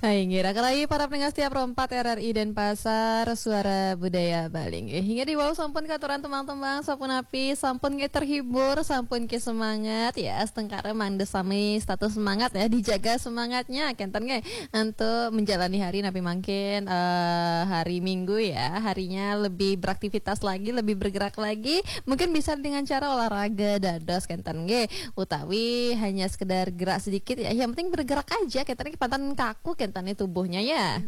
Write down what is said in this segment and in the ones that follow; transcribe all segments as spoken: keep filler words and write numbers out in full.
Inggih, raka rayi para pendengar setia Pro empat R R I Denpasar, Suara Budaya Bali. Inggih, hingga di wau sampun katuran tembang-tembang, sampun api, sampun nggih terhibur, sampun ke semangat ya, setengkara mangda sami status semangat ya, dijaga semangatnya, kenten nggih, untuk menjalani hari napi mangkin, eh, hari Minggu ya, harinya lebih beraktivitas lagi, lebih bergerak lagi, mungkin bisa dengan cara olahraga dados kenten nggih, utawi hanya sekedar gerak sedikit ya, yang penting bergerak aja, kenten nggih, pantan kaku kenten nggih tubuhnya ya.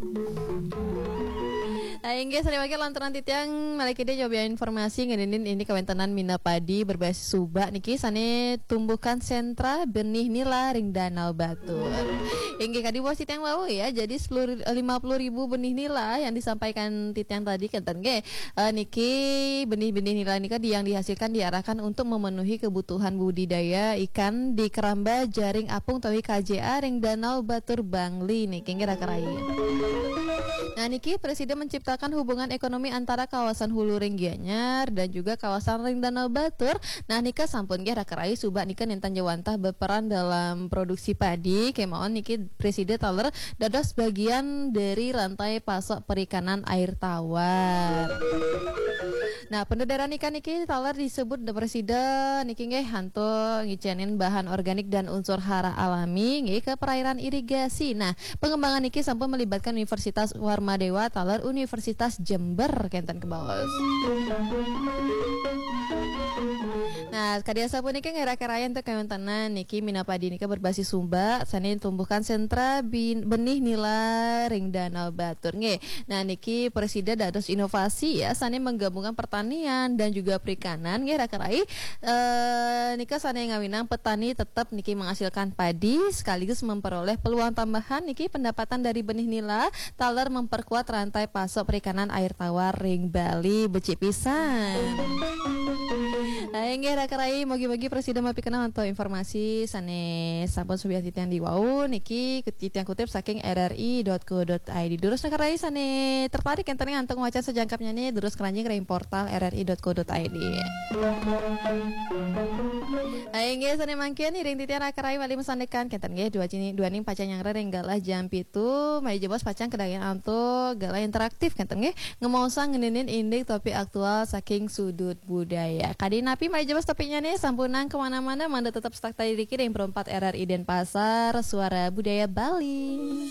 Nah, inggih sane mangke lantaran titiang malih kidih nyobian informasi ngeninin ini kawentenan mina padi berbasis subak niki sane tumbuhkan sentra benih nila ring Danau Batur. Inggih kadi wau titiang wau ya, jadi sepuluh, lima puluh ribu benih nila yang disampaikan titiang tadi kenten nggih. Eh, niki benih-benih nila nika di-, yang dihasilkan diarahkan untuk memenuhi kebutuhan budidaya ikan di keramba jaring apung utawi K J A ring Danau Batur Bangli niki nggih raka rayi. Nah, niki Presiden menciptakan hubungan ekonomi antara kawasan hulu ring Gianyar dan juga kawasan ring Danau Batur. Nah, nika sampun nggih raka rayi subak nika nintan jawantah berperan dalam produksi padi. Kemawon niki Presiden taler dados bagian dari rantai pasok perikanan air tawar. Nah, pendedaran ikan niki taler disebut Presiden niki nggih antuk ngicenin bahan organik dan unsur hara alami nggih ke perairan irigasi. Nah, pengembangan niki sampun melibatkan Universitas Warmadewa taler Universitas Jember kenten kebaos. Nah, kadi asapunika nggih raka rayi untuk kawentenan niki mina padi nika berbasis subak sane tumbuhkan sentra bin-, benih nila ring Danau Batur nggih. Nah, niki Presiden dados inovasi ya sane menggabungkan pertanian dan juga perikanan nggih raka rayi. Eh, nika sane ngawinang petani tetap niki menghasilkan padi sekaligus memperoleh peluang tambahan niki pendapatan dari benih nila taler memperkuat rantai pasok perikanan air tawar ring Bali. Becik pisan. Nah, inggih raka rayi, mugi-mugi Presiden mapikanah antuk informasi sane sampun subiang titiang di wau niki titiang kutip saking R R I dot co dot I D. Durus raka rayi sane tertarik enten ngantuk maca sajangkapnya nih, durus keranjing ring portal R R I dot co dot I D. Nah, inggih sane mangkin iring titiang raka rayi malih masandekan kenten nggih dua cini dua ning pacang nyanggra ring galah jam pitu, malih jebos pacang kedagian antuk galah interaktif kenten nggih. Ngemaosang ngeninin indik topik aktual saking sudut budaya. Kadi napi malih jebos topiknya nih, sampunang kemana-mana, mangda tetap stuck tadi dikit ring Pro empat R R I Denpasar, Suara Budaya Bali.